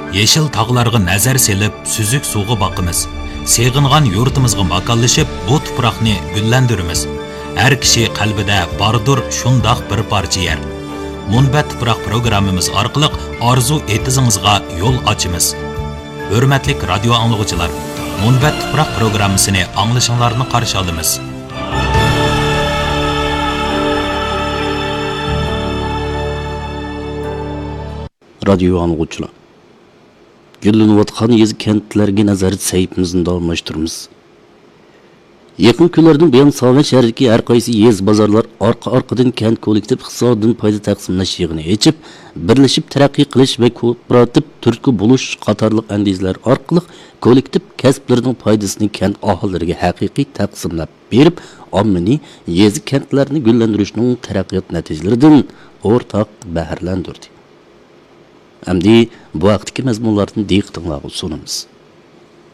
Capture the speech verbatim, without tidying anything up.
يېشىل تاغلارغا نەزەر سېلىپ، سۈزۈك سۇغا باقىمىز. سېغىنغان يۇرتىمىزغا ماكانلىشىپ، بۇ تۇپراقنى گۈللەندۈرىمىز. ھەر كىشى قەلبىدە باردۇر شۇنداق بىر پارچە يەر. مۇنبەت تۇپراق پروگراممىمىز ئارقىلىق ئارزۇ ئېتىزىڭىزغا يول ئاچىمىز. ھۆرمەتلىك رادىيو ئاڭلىغۇچىلار، مۇنبەت تۇپراق پروگراممىسىنى ئاڭلىشىڭلارنى قارشى ئالىمىز. رادىيو ئاڭلىغۇچىلار، گۈللىنىۋاتقان يېزا كەنتلەرگە نەزەر سەھىپىمىزنى داۋاملاشتۇرىمىز. يېقىنقى كۈنلەردىن بۇيان، ساۋەن شەھىرىدىكى ھەر قايسى يېزا بازارلار ئارقا-ئارقىدىن كەنت كوللېكتىپ ئىقتىسادىدىن پايدا تەقسىملەش يىغىنى ئېچىپ، بىرلىشىپ تەرەققىي قىلىش ۋە كوپىراتىپ تۈرتكە بولۇش قاتارلىق ئەندىزىلەر ئارقىلىق كوللېكتىپ كەسىپلىرىنىڭ پايدىسىنى كەنت ئاھالىلىرىگە ھەقىقىي تەقسىملەپ بېرىپ، ئاممىنى يېزا كەنتلەرنى گۈللەندۈرۈشنىڭ تەرەققىيات نەتىجىلىرىدىن ئورتاق بەھرىلەندۈردى. ئەمدى بۇ ھەقتىكى مەزمۇنلاردىن دىققىتىڭلارغا سۇنىمىز.